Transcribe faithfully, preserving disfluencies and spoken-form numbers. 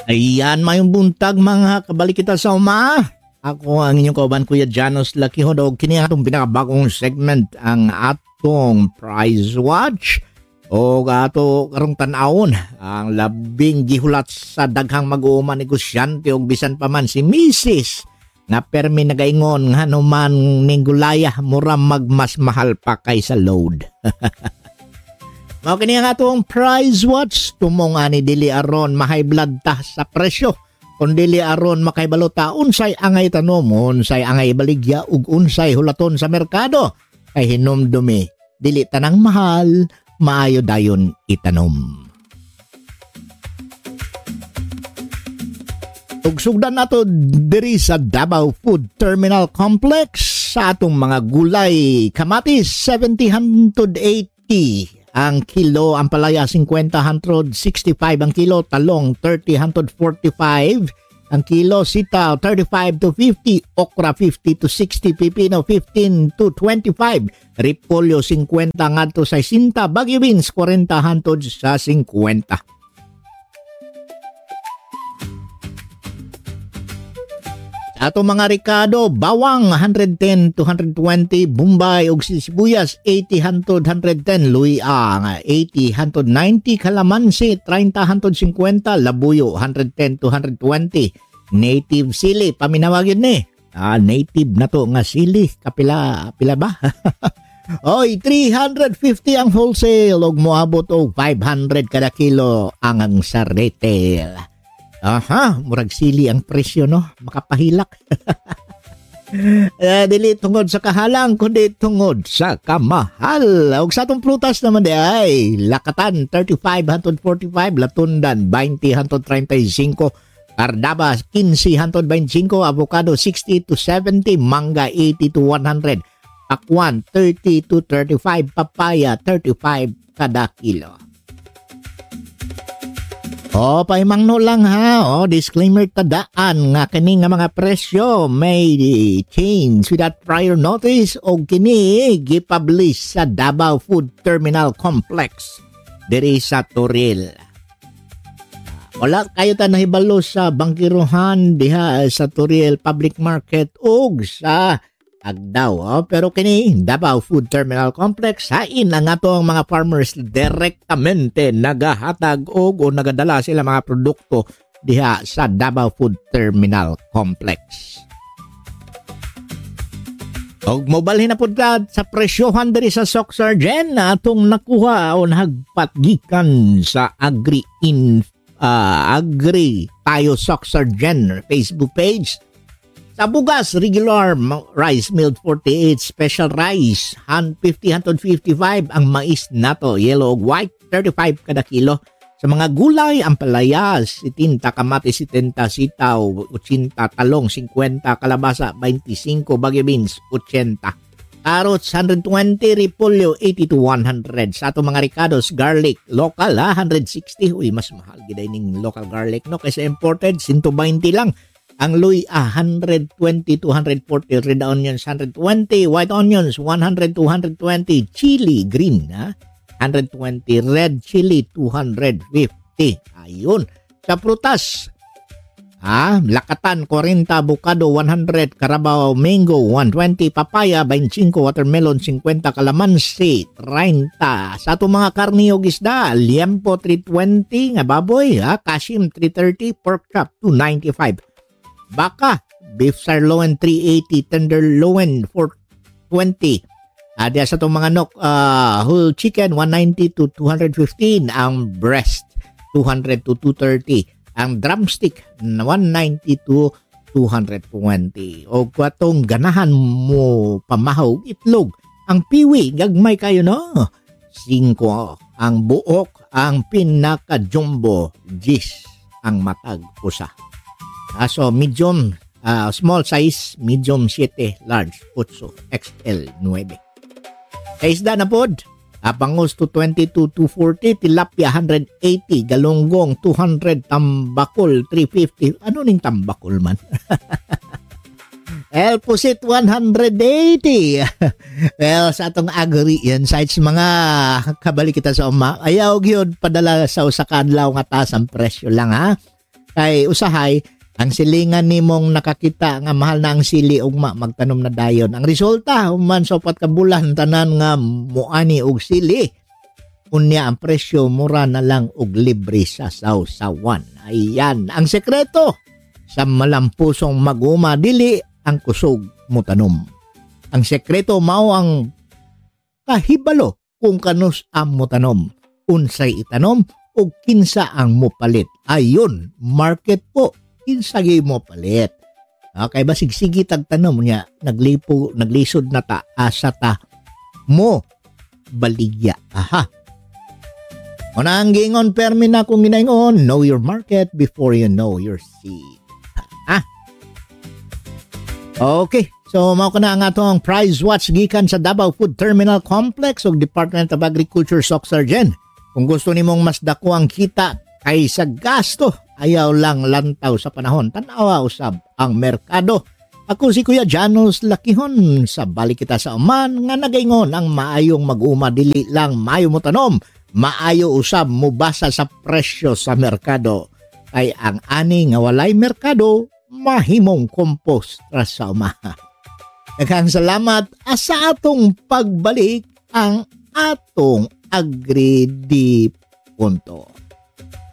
Ayan, mayong buntag, mga kabalik kita sa uma. Ako ang inyong kauban, Kuya Janos Lakihod, og kini ang atong pinakabagong segment, ang atong Price Watch. O ato karong tan-awon ang labing gihulat sa daghang mag-uuma, negosyante, og bisan pa man si Misis nga permi nagaingon nga ano man ning gulaya, mura mag mas mahal pa kaysa load. Mao kini ang atong Price Watch. Tumong ani, dili aron ma-high blood ta sa presyo, kondili aron makahibalo ta unsay angay tanom, unsay angay ibaligya, ug unsay hulaton sa merkado. Kay hinumdumi, dili tanang mahal maayo dayon itanom. Ug sugdan nato diri sa Davao Food Terminal Complex, sa atong mga gulay, kamatis, seventy hangtod eighty ang kilo, ampalaya, fifty hangtod sixty-five ang kilo, talong, thirty hangtod forty-five ang kilo, sitaw, thirty-five to fifty, okra, fifty to sixty, pipino, fifteen to twenty-five, repolyo, fifty ngadto sesenta, Baguio beans, forty hangtod sa fifty. Sa ato mga rekado, bawang, one hundred ten to one hundred twenty, bombay ug sibuyas, eighty hangtod one hundred ten, luya, eighty hangtod ninety, kalamansi, thirty hangtod fifty, labuyo, one hundred ten to one hundred twenty, native sili, paminawa gyud ni. Ah, native na to nga sili. Kapila, pila ba? Oy, three hundred fifty ang wholesale, ug moabot og five hundred kada kilo ang, ang sa retail. Aha, murag sili ang presyo, no? Makapahilak. Eh, dili tungod sa kahalang, kundi tungod sa kamahal. Ug sa atong prutas naman di ay, lakatan, thirty-five hangtod forty-five, latundan, twenty hangtod treinta y cinco, Cardabas, quince hangtod twenty-cinco, avocado, sixty to seventy, mangga, eighty to one hundred, pakwan, thirty to thirty-five, papaya, thirty-five kada kilo. O, pahimangno lang ha. O, disclaimer ta daan nga kini nga mga presyo may change without prior notice, o kini gipublish sa Davao Food Terminal Complex diri sa Toril. Wala kayo ta nahibalo sa bangkiruhan diha sa Toril Public Market ug sa Agdao, oh. Pero kini, Davao Food Terminal Complex, hain ang atong mga farmers direktamente nagahatag og o nagadala sila mga produkto diha sa Davao Food Terminal Complex. Og mobalhin na pud ta sa presyohan diri sa Soc Sargen na atong nakuha o nahagpat gikan sa Agri Inf-, ah, Agri Tayo Soc Sargen Facebook page. Sa bugas, regular ma-, rice milled forty-eight, special rice, han-, fifty hangtod fifty-five, ang mais nato, yellow ug white, thirty-five kada kilo. Sa mga gulay, ampalaya, setenta, kamatis, setenta, sitaw, ochenta, talong, cincuenta, kalabasa, veinticinco, Baguio beans, ochenta. Carrots, hundred twenty, repolyo, eighty to one hundred. Sa ato mga rekados, garlic, local, ha, hundred sixty. Uy, mas mahal gid ay ning local garlic, no? Kaysa imported, sento baynte lang. Ang luya, hundred twenty to hundred forty. Red onions, hundred twenty. White onions, one hundred to hundred twenty. Chili, green, ha? Hundred twenty. Red chili, two hundred fifty. Ayun. Sa prutas, ha? Lakatan, forty. Avocado, one hundred. Carabao, mango, one twenty. Papaya, twenty-five. Watermelon, fifty. Kalamansi, treinta. Sa atong mga karne ug isda, liempo, three twenty nga baboy, ha? Kashim, three thirty. Pork chop, two ninety-five. Baka, beef sirloin, three eighty, tenderloin, four twenty. Ah, diya sa atong mga nok, ah, whole chicken, one ninety to two hundred fifteen. Ang breast, two hundred to two thirty. Ang drumstick, one ninety to two hundred twenty. O katong ganahan mo pamahaw og itlog, ang piwi, gagmay kayo, no? Singko. Ang buok, ang pinaka-jumbo, diyes ang matag usa. Ah, so, medium, ah, small size, medium, siyete, large, otso, X L, nuebe. Sa isda na pod, ah, bangus, two twenty to two forty, tilapia, hundred eighty, galunggong, two hundred, tambakol, three fifty. Ano ning tambakol man? El Pusit, one hundred eighty. Well, sa atong agri yan, sites, mga kabalik kita sa uma, ayaw gyud padala sa usa ka adlaw nga taas ang presyo lang, ha? Kay usahay, ang silingan nimong nakakita nga mahal na ang sili, ugma magtanom na dayon. Ang resulta, human sa upat ka bulan, tanan nga muani og sili. Unya ang presyo, mura na lang og libre sa sawsawan. Ayan ang sekreto sa malampusong mag-uma, dili ang kusog mutanom. Ang sekreto mao ang kahibalo kung kanus-a mutanom, unsay itanom, ug kinsa ang mupalit. Ayon, market po, kinsa gyud mupalit. Okay, basig sige tagtanom niya, naglipo, naglisod na ta, asa ta mo baligya. Aha. Mao na ang giingon, permi na kong ginaingon, know your market before you know your seed. Ha? Okay. So, mao kana ang atong price watch gikan sa Davao Food Terminal Complex ug Department of Agriculture, Soc Sargen. Kung gusto nimong mas dako ang kita kaysa gasto, ayaw lang lantaw sa panahon. Tan-awa usab ang merkado. Ako si Kuya Janos Lakihon, sa balik kita sa uman nga nagaingon, ang maayong mag-uma dili lang maayo mo tanom, maayo usab mubasa sa presyo sa merkado. Kay ang ani nga walay merkado, mahimong compost ra sa uma. Daghang salamat, ah, sa atong pagbalik ang atong Agri di Punto.